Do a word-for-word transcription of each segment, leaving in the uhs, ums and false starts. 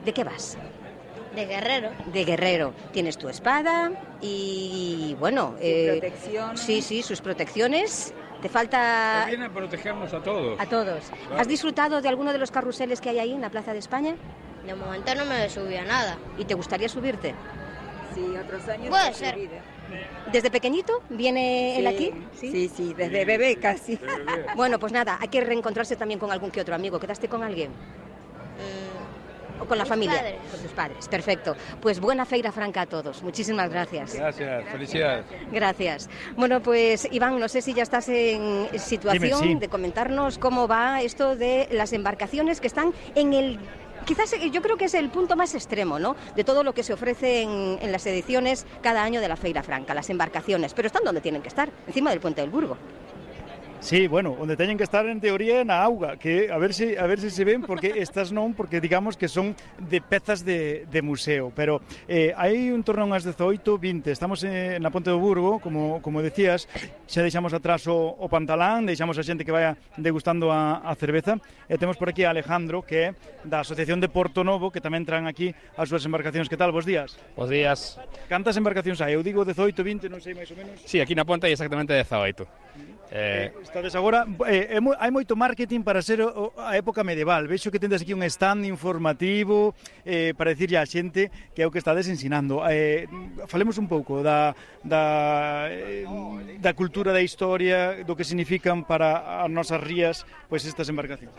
¿De qué vas? De guerrero. De guerrero. Tienes tu espada y, bueno... Sus eh, protecciones. Sí, sí, sus protecciones. Te falta... Que viene a protegernos a todos. A todos. Claro. ¿Has disfrutado de alguno de los carruseles que hay ahí en la Plaza de España? De momento no me subí a nada. ¿Y te gustaría subirte? Sí, otros años. Puede no se ser. olvida. ¿Desde pequeñito viene él Sí, aquí? Sí, sí, desde bebé casi. Bueno, pues nada, hay que reencontrarse también con algún que otro amigo. ¿Quedaste con alguien? Mm, ¿O con la Mis familia? padres. Con tus padres, perfecto. Pues buena Feira Franca a todos. Muchísimas gracias. Gracias, felicidades. Gracias. Bueno, pues Iván, no sé si ya estás en situación Dime, sí. de comentarnos cómo va esto de las embarcaciones que están en el... Quizás yo creo que es el punto más extremo, ¿no?, de todo lo que se ofrece en, en las ediciones cada año de la Feira Franca, las embarcaciones. Pero están donde tienen que estar, encima del Puente del Burgo. Sí, bueno, onde teñen que estar en teoría na auga, que a ver se a ver se se ven, porque estas non, porque digamos que son de pezas de, de museo, pero eh, hai un torneo ás dezoito, vinte, estamos en, na Ponte do Burgo, como, como decías, xa deixamos atrás o, o pantalán, deixamos a xente que vaya degustando a, a cerveza, e temos por aquí a Alejandro, que é da Asociación de Porto Novo, que tamén traen aquí as súas embarcacións. Que tal, bos días? Bos días. Cantas embarcacións hai? Eu digo dezoito, vinte, non sei máis ou menos. Sí, aquí na Ponte hai exactamente dezaoito. Eh, Estades agora, eh, é mo, hai moito marketing para ser o, a época medieval. Vexo que tendes aquí un stand informativo eh, para dicirlle á xente que é o que estades ensinando. Eh, falemos un pouco da, da, eh, da cultura, da historia, do que significan para as nosas rías pois estas embarcacións.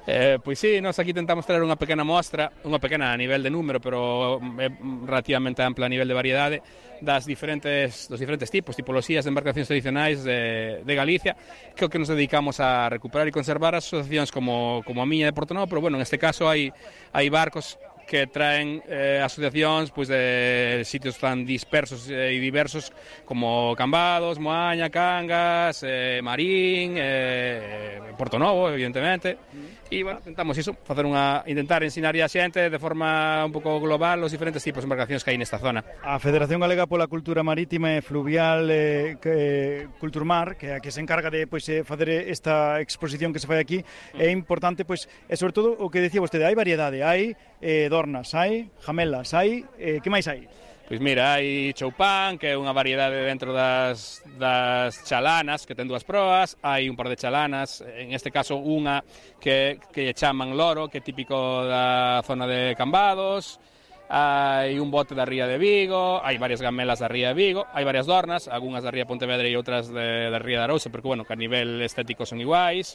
Eh, pois sí, nós aquí tentamos traer unha pequena mostra, unha pequena a nivel de número, pero é relativamente ampla a nivel de variedade, das diferentes, dos diferentes tipos, tipoloxías de embarcacións tradicionais de, de Galicia, que é o que nos dedicamos a recuperar e conservar as asociacións como, como a miña de Porto Novo, pero bueno, neste caso hai, hai barcos que traen eh, asociacións pois, de sitios tan dispersos e eh, diversos como Cambados, Moaña, Cangas, eh, Marín, eh, Porto Novo, evidentemente. E, bueno, tentamos iso, facer unha, intentar ensinar a xente de forma un pouco global os diferentes tipos de embarcacións que hai nesta zona. A Federación Galega pola Cultura Marítima e Fluvial eh, que, Culturmar, que é a que se encarga de pois, eh, facer esta exposición que se fai aquí, é importante, pois, e sobre todo o que decía vostede, hai variedade, hai eh, dornas, hai jamelas, hai, eh, que máis hai? Pois mira, hai choupán, que é unha variedade dentro das, das chalanas, que ten dúas proas, hai un par de chalanas, en este caso unha que, que chaman loro, que é típico da zona de Cambados, hai un bote da ría de Vigo, hai varias gamelas da ría de Vigo, hai varias dornas, algunhas da ría de Pontevedra e outras de, da ría de Arousa, porque, bueno, que a nivel estético son iguais,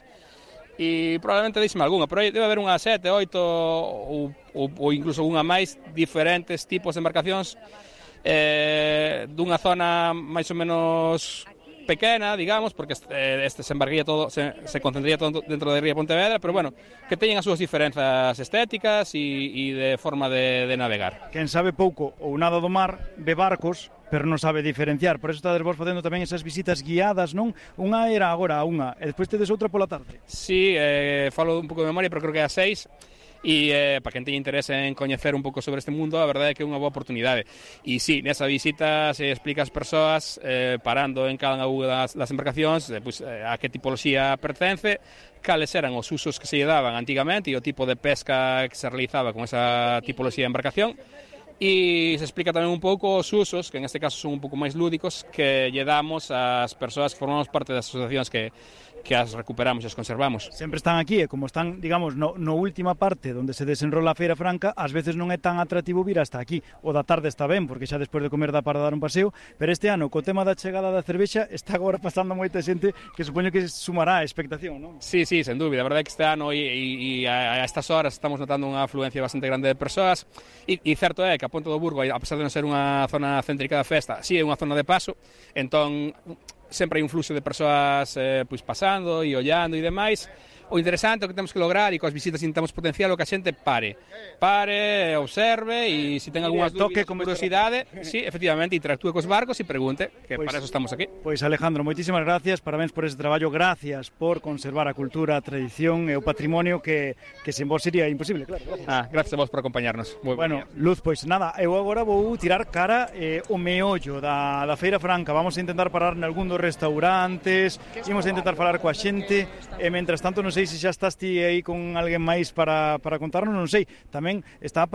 e probablemente deixeme algunha, pero debe haber unha sete, oito ou, ou, ou incluso unha máis diferentes tipos de embarcacións eh, dunha zona máis ou menos pequena, digamos, porque este, este se embarcaría todo, se, se concentraría todo dentro da ría de Pontevedra, pero bueno, que teñen as súas diferenzas estéticas e, e de forma de, de navegar. Quen sabe pouco ou nada do mar, ve barcos, pero non sabe diferenciar. Por eso estades vos facendo tamén esas visitas guiadas, non? Unha era agora a unha, e despois tedes outra pola tarde. Sí, eh, falo un pouco de memoria, pero creo que é a seis. E eh, para quen teña interese en coñecer un pouco sobre este mundo, a verdade é que é unha boa oportunidade. E sí, nesa visita se explica ás persoas eh, parando en cada unha das, das embarcacións eh, pues, eh, a que tipoloxía pertence, cales eran os usos que se lle daban antigamente e o tipo de pesca que se realizaba con esa tipoloxía de embarcación. E se explica tamén un pouco os usos, que en este caso son un pouco máis lúdicos, que lle damos ás persoas que formamos parte das asociacións que, que as recuperamos e as conservamos. Sempre están aquí, e como están, digamos, no, no última parte onde se desenrola a Feira Franca, ás veces non é tan atractivo vir hasta aquí. O da tarde está ben, porque xa despois de comer dá para dar un paseo, pero este ano, co tema da chegada da cervexa, está agora pasando moita xente que supoño que sumará a expectación, non? Sí, sí, sen dúbida. A verdade é que este ano e, e, e a, a estas horas estamos notando unha afluencia bastante grande de persoas e, e certo é que a Ponte do Burgo, a pesar de non ser unha zona céntrica da festa, si sí é unha zona de paso, entón sempre hai un fluxo de persoas eh, pois pasando e ollando e demais. O interesante, o que temos que lograr, e coas visitas intentamos potenciar, o que a xente pare. Pare, observe, e se ten algunha toque con curiosidade, sí, efectivamente, interactúe cos barcos e pregunte, que pues, para eso estamos aquí. Pois Alejandro, moitísimas gracias, parabéns por ese traballo, gracias por conservar a cultura, a tradición e o patrimonio que, que sen vos sería imposible, claro. Gracias. Ah, gracias a vos por acompañarnos. Muy bueno, Luz, pois nada, eu agora vou tirar cara eh, o meollo da, da Feira Franca, vamos a intentar parar nalgún dos restaurantes, imos a intentar falar coa xente, e mentras tanto non sei se xa estás ti aí con alguén máis para, para contarnos, non sei, tamén está a